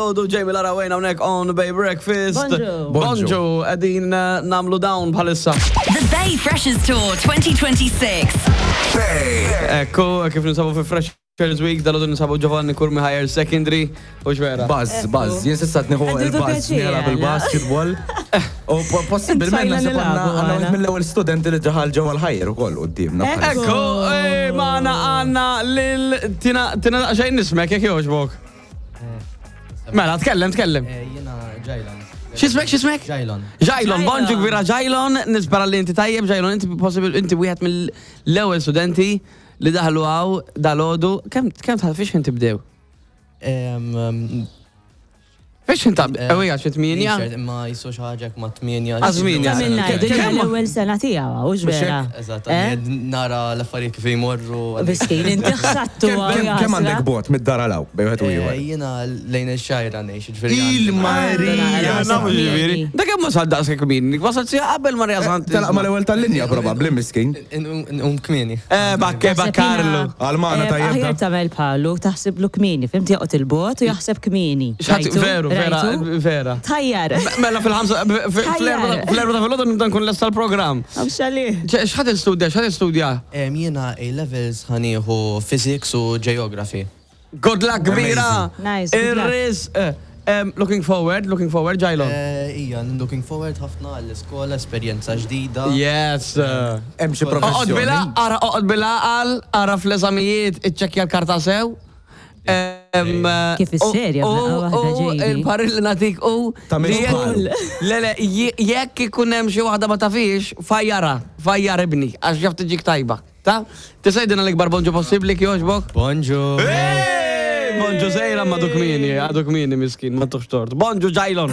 Odu Jamie Lara Wayne hawnhekk on Bay Breakfast. Bonġu. Bonġu, qegħdin eh, nagħmlu dawn bħalissa. The Bay Freshers Tour 2026. Ekku, kif ninsabu fi Freshers Week, dal ninsabu Giovanni Curmi Higher Secondary, u xvera. Buzz, buzz, jien sissa tniħu Għaddu il-buzz pjaċir, nilgħab għala. il-basketball. U possibilment Intajna naħseb nilagħbu, għandna għandna għala. wieħed mill-ewwel studenti li ġaħal ġewwa l-ħajr ukoll quddiemna. Ekku. bħalissa. Ekku, eh, maħna għanna lil Tina, Tina xejn nismek, jek joġbok. Mela, tkellem, tkellem. Jena Ġajlon. X'ismek, x'ismek? Ġajlon. Ġajlon, bonġu kbira Ġajlon, nispera li inti tajjeb, Ġajlon, inti possibil, inti wieħed mill-ewwel studenti li daħlu għaw dal-ħodu. Kem, kem tħal, fiex inti bdew? Fiex inti ewwija xi tminja? Imma jisu xaħġa ma tminja. Għażminja. Ta' minna, Kemm- dinja kemm- l-ewwel sena tiegħu, hux vera? Eżatt, Eh? għadni nara l-affarijiet kif jmorru. Miskin, inti ħsattu Kemm kemm għandek bot mid-dar għalaw bejn wieħed u ieħor? Jena lejn il-xajra ngħix, ġifieri. Il-Marija! Nafu ġifieri. Da kemm wasal daqshekk kmin? Wasal sija qabel Marija Sant. Telaq mal-ewwel tal-linja probabbli miskin. Um kmieni. Eh, bakke, bakkarlu. Għal-magħna tajjeb Aħjar da. tagħmel bħalu, taħsiblu kmieni, fimti joqgħod il-bot u jaħseb kmieni. X'ħadd- Rajtu? Veru, vera, Rajtu? vera. Tajjar. Mela fil-ħamsa, fl-erba ta' fil-ħodu nibda nkun lesta l-programm. Għaw xali. X'ħad istudja, x'ħad istudja? Jena A-levels ħanieħu physics u geography. Good luck kbira! Nice, good luck. Irris, eh, looking forward, looking forward, Ġajlon. Ija, looking forward ħafna għall-iskola, esperjenza ġdida. Yes. Hemm xi Oqgħod professjoni. bila, ara oqgħod bila għal, ara fl-eżamijiet iċċekkja l-karta sew. Kif is-serja f'daqqa waħda, U Jamie. il-parir li natik u Ta' li minn jekk- bħalu. Le, le, jekk ikun hemm xi waħda ma tafix, fajjara, fajjar ibni, għax jaf tiġik tajba. Ta? Tisajdina l-ikbar bonġu possibbli kjoġbok? Bonġu. Bonġu sejra ma duk mini, għaduk mini miskin, ma tuħx tort. Bonġu ġajlon.